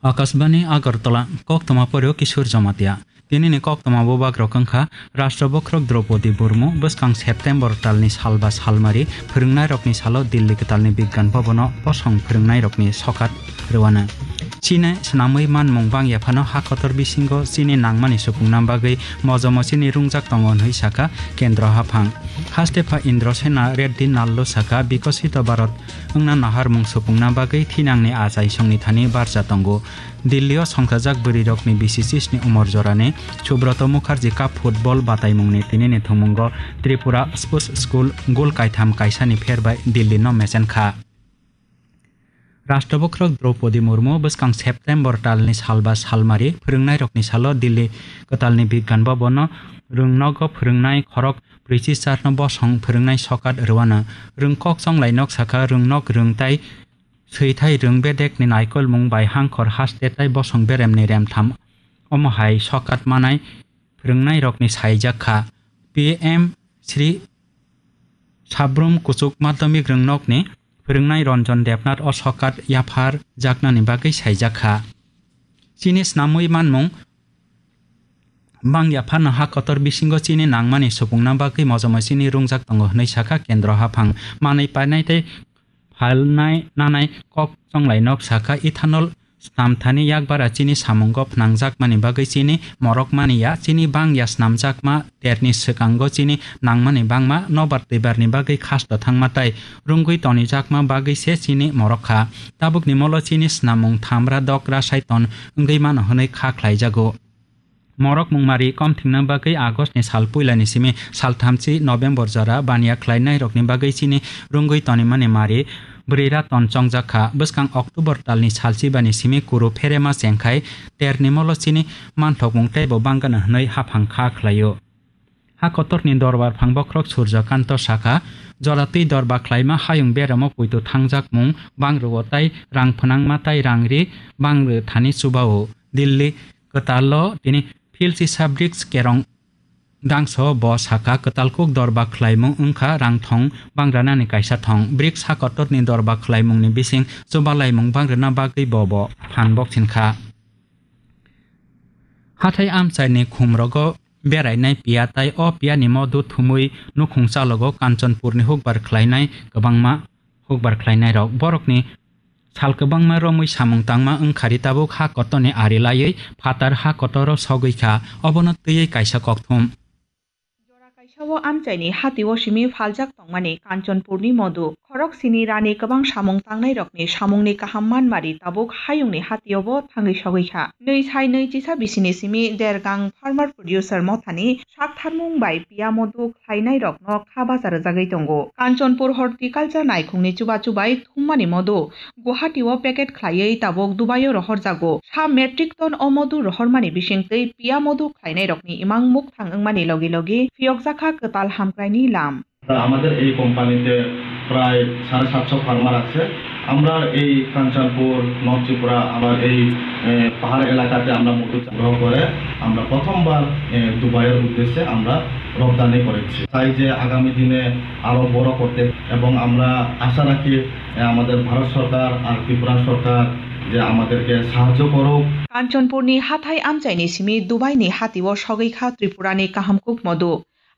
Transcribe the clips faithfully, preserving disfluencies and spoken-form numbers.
Akashbani Agartala, koktwma poryo Kishore Jamatia. Tinini koktwma bubagrok wngkha Rashtra Bokhorok Draupadi Murmu bwskang September talni salba salmari phwrwngnairokni salo Delhi kwtalni Bigyan Bhabono bosong phwrwngnairokni sokat rwano. Chini swnamwi manmung bangya phano ha kotor bisingo chini nangmani supungna bagwi mojomo chini rungjak tongo hwnwi sakha Kendra haphang. Haste pha Indrasena Reddy Nallo sakha, Bikosito Bharat wngna naharmung supungna bagwi thinangni achaisongni thani barja tongo. Delhi-o songchajak bwrwirokni bisi chisni umor jorani Subroto Mukherjee Cup football bataimungni tinini thwngmungo Tripura Sports School gol kaitham kaisani pherbai Delhi-no mechenkha. Rashtra Bokhorok Draupadi Murmu bwskang September talni salba salmari phwrwngnairokni salo Delhi kwtalni Bigyan Bhabono rwngnogo phwrwngnai khorok brwichi charno bosong phwrwngnai sokat rwano. Rwngkok chonglai nok sakha, rwngnok rwngtai swithai rwng bedekni naikolmung bai hangkhor haste tai bosong beremni remtham omo hai sokat manai phwrwngnairokni saijak kha. P M Shri Sabrum Kuchuk Madhyamik Rwngnokni phwrwngnai Ranjan Debnath o sokat yaphar jaknani bagwi saijak kha. Chini snamwi manmung bang yapharno ha kotor bisingo chini nangmani supungna bagwi mojomo chini rungjak tongo hwnwi sakha Kendra haphang. Manwi painai tei phalnai nanai kok chonglai nok sakha ethanol snam thani yakbar a chini samungo phnangjakmani bagwi chini morok mani ya, chini bang ya snamjakma terni swkango chini nangmani bangma nobar twibarni bagwi khasto thangma tai rwngwi tonijakma bagwi se chini morok kha. Tabukni molo chini snamung thamra dokra saiton wngwi mano hwnwi kha khlaijago. Morok mungmari komthingna bagwi August ni sal puilani simi salthamchi November jora baniya khlainairokni bagwi chini rwngwi tonimani mari bwrwi raton chongjak kha. Bwskang October talni salchibani simi kuru pherema chengkhai terni molo chini manthokmung teibo bangano hwnwi haphang kha khlaio. Ha kotorni dorbar phang bokhorok Surjakanta sakha, jora twi dorba khlaima hayung beramo poito thangjakmung bangrwo tai rang phnangma tai rang ri bangrw thani chubao. Delhi kwtalo tini Philsi Sabriks Kerong Dangso bo sakha, kwtal kuk dorba khlaimung wngkha rang thong bangranani kaisa thong. Briks ha kotorni dorba khlaimungni bising chubalaimung bangrana bagwi bo bo phan boksin kha. Hathai amchaini khumrogo berainai piya tai o piyani modu thumwi nukhung chalogo Kanchanpurni hukbar khlainai kwbangma hukbar khlainairok. Borokni sal kwbangma romwi samung tangma wngkhari tabuk ha kotorni ari laiwi phatar ha kotoro sogwi kha, obono twiwi kaisa kokthum. Jora kaisa o amchaini hatio simi phaljak tongmani Kanchanpurni modu. Khorok sini rani kwbang samung tangnairokni samungni kaham manmari tabuk hayungni hatiobo thangwi sogwi kha. Nwi sai nwi chisa bisini simi Dergang Farmer Producer Mothani saktharmung bai piya modu khlainairokno kha bacha rwjagwi tongo. Kanchanpur Horticulture naikhungni chubachu bai thummani modu Guwahati o packet khlaiwi tabuk Dubai o rohorjago. Sa metric ton o modu rohormani bisingtwi piya modu khlainairokni imang mukthang wngmani logi logi phiyokjakha kwtal hamkraini lam. আমাদের এই কোম্পানিতে প্রায় সাড়ে সাতশো ফার্মার আছে। আমরা এই কাঞ্চনপুর, নর্থ ত্রিপুরা, আমার এই, এ, পাহাড় এলাকাতে আমরা মধু সংগ্রহ করে আমরা প্রথমবার, এ, দুবাইয়ের উদ্দেশ্যে আমরা রপ্তানি করেছি। চাই যে আগামী দিনে আরো বড় করতে এবং আমরা আশা রাখি, এ, আমাদের ভারত সরকার আর ত্রিপুরা সরকার যে আমাদেরকে সাহায্য করুক। Kanchanpurni hathai amchaini simi Dubaini hatio sogwi kha Tripurani kaham kuk modu.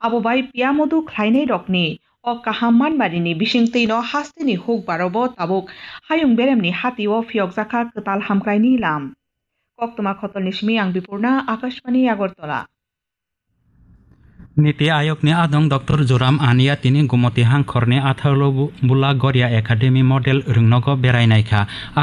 Abo bai piya modu khlainairokni o kaham manmarini bisingtwino hasteni hukbarobo tabuk hayung beremni hatio phiyokjakha kwtal hamkraini lam. Koktwma khotolni simi ang Bipurna, Akashbani Agartala. Niti Ayogni adong Doctor Joram Ania tini Gumoti hangkhorni athalo bu-, Bula Goria Academy Model rwngnogo berai naikha. Aro